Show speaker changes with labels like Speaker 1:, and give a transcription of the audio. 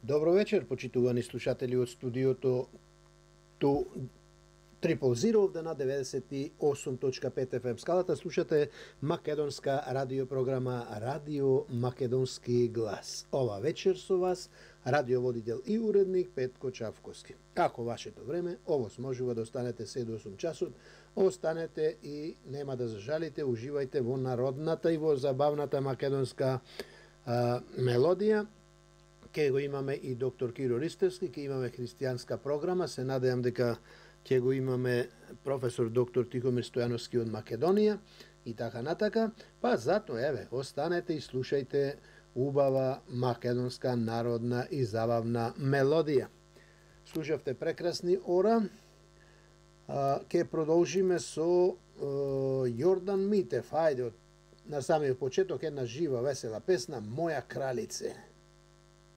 Speaker 1: Добро вечер, почитувани слушатели од студиото ту Triple Zero овде на 98.5 FM скалата. Слушате македонска радиопрограма Радио Македонски глас. Ова вечер со вас радиоводител и уредник Петко Чавковски. Како вашето време, овоз можува да останете 7 до 8 часот, останете и нема да зажалите, уживајте во народната и во забавната македонска мелодија. Ке го имаме и доктор Киро Ристевски, ке имаме христијанска програма, се надејам дека ќе го имаме професор доктор Тихомир Стојановски од Македонија и така натака. Па затоа, еве, останете и слушајте убава македонска народна и забавна мелодија. Слушавте прекрасни ора. Ке продолжиме со Јордан Митев. Хајде, на самиот почеток една жива, весела песна, Моја кралице.